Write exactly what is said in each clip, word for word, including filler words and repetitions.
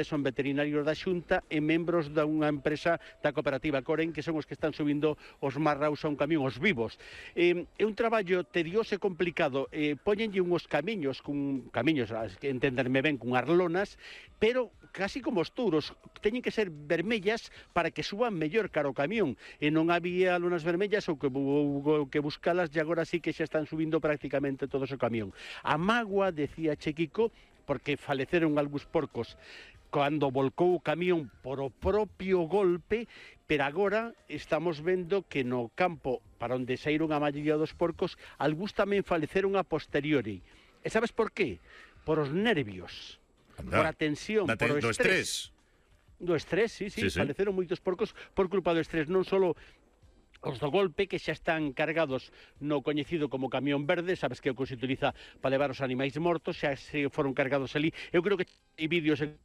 son veterinarios da Xunta e membros da unha empresa da cooperativa Coren, que son os que están subindo os marraus a un camión, os vivos. Eh, é un traballo tedioso e complicado. Eh, Póñenlle unhos camiños, cun camiños, que entenderme ben, con arlonas, pero casi como os touros, teñen que ser vermellas para que suban mellor cara ao camión. E non había lonas vermellas ou que, ou que buscalas, e agora sí que xa están subindo prácticamente todos o camión. A mágoa, decía Chequico, porque faleceron algúns porcos cando volcou o camión por o propio golpe, pero agora estamos vendo que no campo para onde saíron a maioría dos porcos, algúns tamén faleceron a posteriori. E sabes por qué? Por os nervios, Anda. por a tensión, por o estrés. Do estrés, sí, sí, sí, sí, faleceron moitos porcos por culpa do estrés, non só os do golpe, que xa están cargados no coñecido como camión verde, sabes que é o que se utiliza para levar os animais mortos, xa se foron cargados ali. Eu creo que hai vídeos en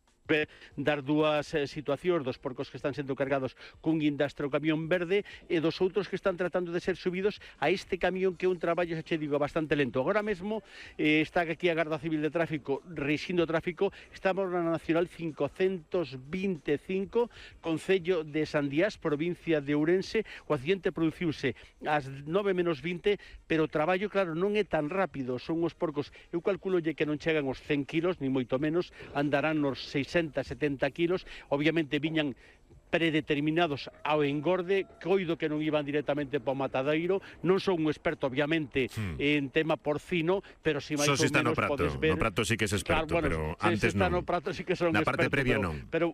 dar dúas eh, situacións dos porcos que están sendo cargados cun guindastre o camión verde e dos outros que están tratando de ser subidos a este camión, que é un traballo, xa che digo, bastante lento. Agora mesmo eh, está aquí a Garda Civil de Tráfico rexindo o tráfico. Estamos na Nacional cincocentos vinte e cinco, Concello de Sandiás, provincia de Ourense. O accidente produciuse ás nove menos vinte, pero o traballo, claro, non é tan rápido. Son os porcos, eu calculolle que non chegan aos cen kilos, ni moito menos, andarán nos seiscentos, setenta kilos, obviamente viñan predeterminados ao engorde, coido que non iban directamente para o matadeiro. Non son un experto, obviamente, hmm. en tema porcino, pero si máis ou menos podes ver... No prato sí que es experto, claro, bueno, pero antes non. No prato sí que son Na experto, parte previa pero, non. Pero,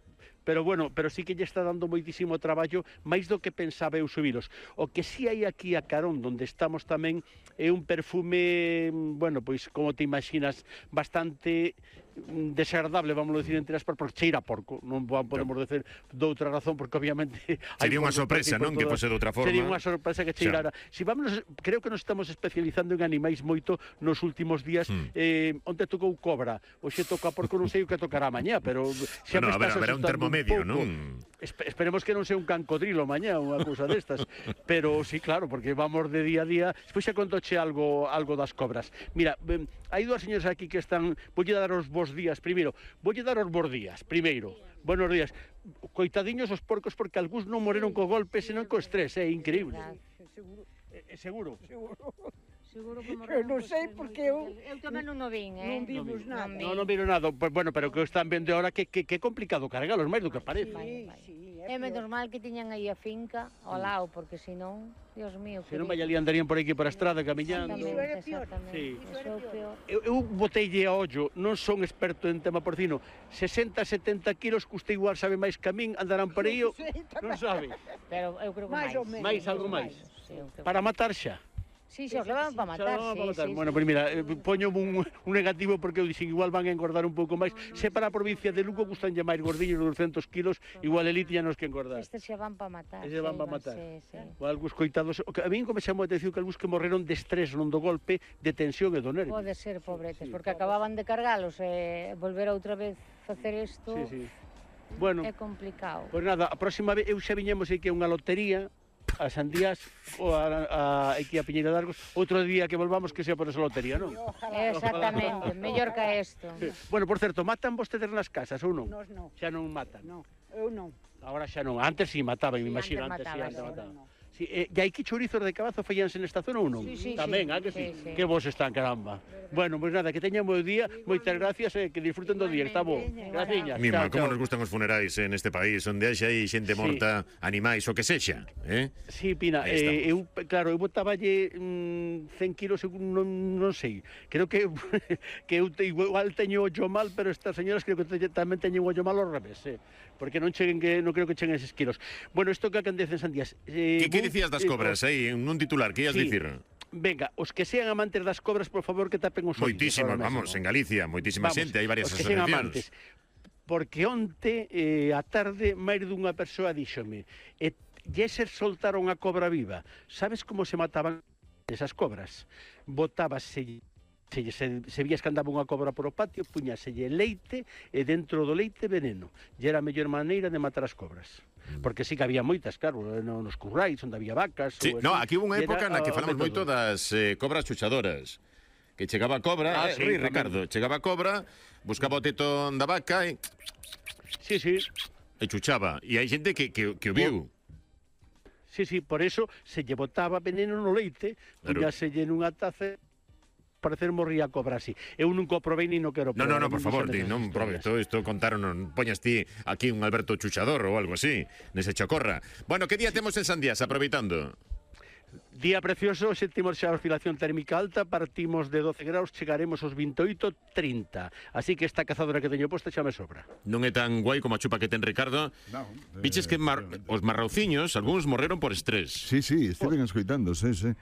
pero bueno, pero sí que lle está dando moitísimo traballo, máis do que pensaba eu subilos. O que sí hai aquí a carón, donde estamos tamén, é un perfume, bueno, pois, como te imaginas, bastante desagradable, vamos a decir entre aspas, porque cheira a porco. Non podemos decir de outra razón, porque obviamente sería unha sorpresa, non? Que fose de outra forma. Sería unha sorpresa que cheirara. Si vamos, creo que nos estamos especializando en animais moito nos últimos días. Hmm. Eh, onde tocou cobra, hoxe toca porco, non sei o que tocará mañá, pero xa bueno, me estás a ver, haberá un termomedio, non? Espe esperemos que non sea un cancodrilo mañá, unha cousa destas. Pero sí, claro, porque vamos de día a día. Despois xa contoche algo algo das cobras. Mira, eh, hai dúas señoras aquí que están, voulle dar os vos días primeiro, voulle dar os bons días primeiro. Buenos días. Coitadiños os porcos, porque algúns non moreron co golpe, senón co estrés, é increíble. Seguro. É seguro? Seguro. Seguro que Eu non sei porque eu... Eu tamén non o vin, eh? Non vimos nada. Non, non viro nada. Pues, bueno, pero que están vendo ahora que, que, que é complicado cargalos, máis do que parece. Sí, sí, é menos mal que tiñan aí a finca ao lado, porque senón, Dios mío... Se non vai ali andarían por aquí por a estrada camiñando. Exactamente, exactamente. Sí. Iso é o peor. Eu, eu boteille a ollo, non son experto en tema porcino, sesenta, setenta kilos, que usted igual sabe máis que a min, andarán por aí, non sabe. Pero eu creo que máis. Máis, algo máis. Para matar xa. Sí, xa os levan para matar, sí, matar. sí. Bueno, pois pues mira, eh, poño un, un negativo porque eu dixen igual van a engordar un pouco máis. Se para a provincia de Lugo gustan lle máis gordiños de doscientos kilos, igual elite ya nos que engordar. Estes xa van para matar. Estes van para matar. Sí, sí. O algúns coitados, a mí como chamou a atención que algúns que morreron de estrés, non do golpe, de tensión e do nervio. Pode ser, pobretes, sí, porque acababan de cargalos e eh, volver outra vez facer isto. Sí, sí. Bueno, é complicado. Pois pues nada, a próxima vez eu xa viñemos aí que é unha lotería a Sandías ou a, a, aquí a Piñeira de Argos, outro día que volvamos que sea por esa lotería, non? Exactamente, mellor que isto. Bueno, por certo, matan vostedes nas casas ou non? Nos non. Xa non matan? Non, eu non. Agora xa non, antes si mataban, me imagino, antes si mataban. Sí, eh, e hai que chourizos de cabazo fallanse nesta zona ou non? Sí, sí, tamén, sí, ah, que sí? sí, sí. Que vos están, caramba. Bueno, pois pues nada, que teñan bo día, moitas gracias e eh, que disfruten do día, está bo. Graciñas. Mima, como nos gustan os funerais eh, neste país, onde haxa aí xente morta, sí, animais, o que sexa, eh? Sí, Pina, eh, eu, claro, eu botaballe mm, cen kilos, non, non sei, creo que que eu te, igual teño ollo mal, pero estas señoras creo que te, tamén teñen ollo mal ao revés, eh? Porque non cheguen que non creo que cheguen eses kilos. Bueno, isto que acontece en Sandías. Eh, que que dicías das cobras aí, en un titular, que ias sí. dicir? Venga, os que sean amantes das cobras, por favor, que tapen os ollos. Moitísimas, vamos, en Galicia, moitísima xente, hai varias asociacións. Porque onte, eh, a tarde, máis dunha persoa díxome, e Yeser soltaron a cobra viva. Sabes como se mataban esas cobras? Botábase... Se, se, se vías que andaba unha cobra por o patio, puñaselle leite e dentro do leite veneno. E era a mellor maneira de matar as cobras. Porque sí que había moitas, claro, nos currais, onde había vacas... Sí, ou no, aquí hubo unha época era, na que falamos moito das eh, cobras chuchadoras. que chegaba a cobra, Ah, eh, sí, Rui, tamén. Ricardo, chegaba a cobra, buscaba o teto da vaca e, Sí, sí. e chuchaba. E hai xente que, que, que o viu. Sí, sí, por eso se lle botaba veneno no leite, Claro. puñáselle nunha taza, parecer morría a cobra así. Eu nunca o probei ni no quero No, probar. no, no, por favor, sei di, desas non historias. probes todo isto, contaron, non poñas ti aquí un Alberto Chuchador ou algo así, nese chocorra. Bueno, que día temos en Sandiás, aproveitando? Día precioso, sentimos xa a oscilación térmica alta, partimos de doce graus, chegaremos aos veintioito, trinta. Así que esta cazadora que teño posta xa me sobra. Non é tan guai como a chupa que ten Ricardo. Non, Viches que mar, os marrauciños, algúns morreron por estrés. Sí, sí, estiven escoitando, sí, sí.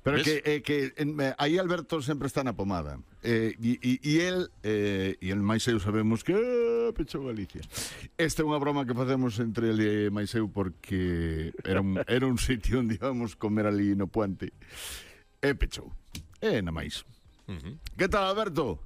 Pero Ves? que, eh, que en, eh, aí Alberto sempre está na pomada. Eh, e, e, e el, eh, e el máis eu sabemos que eh, pechou Galicia. Esta é unha broma que facemos entre ele e máis eu porque era un, era un sitio onde íbamos comer ali no puente. E pechou. E na máis. Uh -huh. Que tal, Alberto?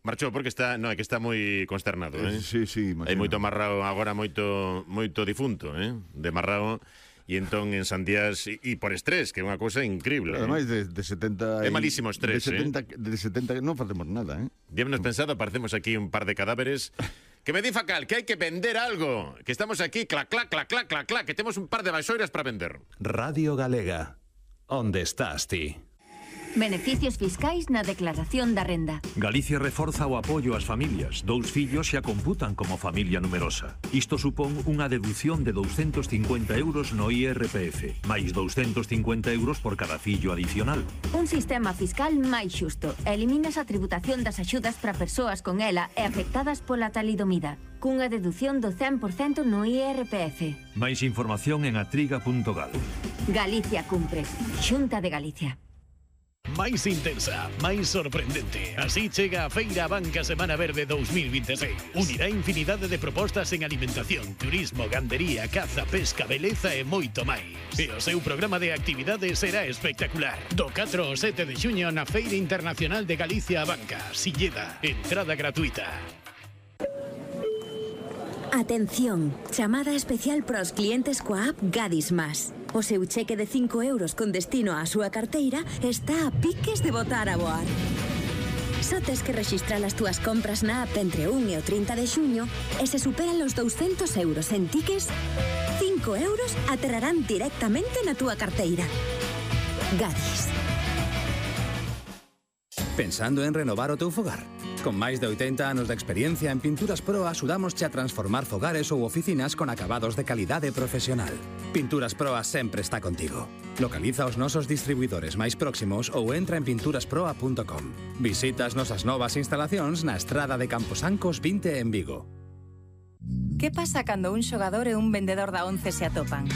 Marchou porque está, no, é que está moi consternado, eh? Sí, sí, Hai moito marrao agora, moito moito difunto, eh? De marrao. E entón en Sandiás, e, e por estrés, que é unha cousa increíble. Ademais Eh? de, de setenta... É malísimo estrés, de setenta, eh? De setenta non facemos nada, eh? Díamos pensado, aparecemos aquí un par de cadáveres. Que me di Facal, que hai que vender algo. Que estamos aquí, clac, clac, clac, clac, clac, clac, que temos un par de baixoiras para vender. Radio Galega. Onde estás ti? Beneficios fiscais na declaración da renda. Galicia reforza o apoio ás familias. Dous fillos xa computan como familia numerosa. Isto supón unha deducción de douscentos cincuenta euros no I R P F, máis douscentos cincuenta euros por cada fillo adicional. Un sistema fiscal máis xusto. Eliminas a tributación das axudas para persoas con ela e afectadas pola talidomida, cunha deducción do cen por cento no I R P F. Máis información en atriga punto gal. Galicia cumpre. Xunta de Galicia. Máis intensa, máis sorprendente. Así chega a Feira Banca Semana Verde dous mil vinte e seis. Unirá infinidade de propostas en alimentación, turismo, gandería, caza, pesca, beleza e moito máis. E o seu programa de actividades será espectacular. Do catro ao sete de xuño na Feira Internacional de Galicia a Banca, Silleda. Entrada gratuita. Atención, chamada especial para os clientes coa app Gadis Más. O seu cheque de cinco euros con destino á súa carteira está a piques de botar a voar. Só tes que rexistrar as túas compras na app entre un e o trinta de xuño e se superan os douscentos euros en tickets, cinco euros aterrarán directamente na túa carteira. Gadis. Pensando en renovar o teu fogar? Con máis de oitenta anos de experiencia en Pinturas Pro axudamosche a transformar fogares ou oficinas con acabados de calidade profesional. Pinturas Proa sempre está contigo. Localiza os nosos distribuidores máis próximos ou entra en pinturas proa punto com. Visita as nosas novas instalacións na estrada de Camposancos vinte en Vigo. Que pasa cando un xogador e un vendedor da once se atopan?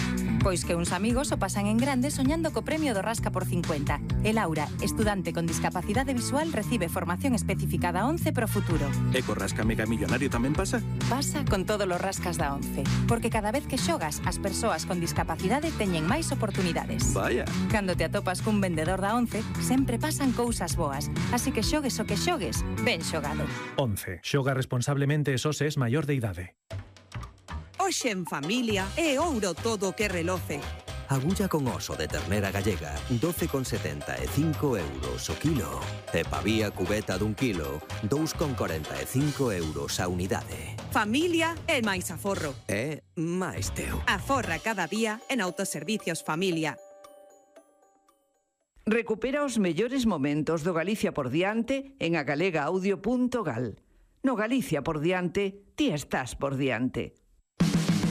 Pois que uns amigos o pasan en grande soñando co premio do Rasca por cincuenta. E Laura, estudante con discapacidade visual, recibe formación específica da once pro futuro. E co Rasca Mega Millonario tamén pasa? Pasa con todos os rascas da once. Porque cada vez que xogas, as persoas con discapacidade teñen máis oportunidades. Vaya. Cando te atopas cun vendedor da once, sempre pasan cousas boas. Así que xogues o que xogues, ben xogado. once. Xoga responsablemente e só se es maior de idade. Hoxe en familia é ouro todo o que reloce. Agulla con oso de ternera gallega, doce con setenta e cinco euros o kilo. E pavía cubeta dun kilo, dous con corenta e cinco euros a unidade. Familia é máis aforro. É máis teu. Aforra cada día en Autoservicios Familia. Recupera os mellores momentos do Galicia por diante en agalega audio punto gal. No Galicia por diante, ti estás por diante.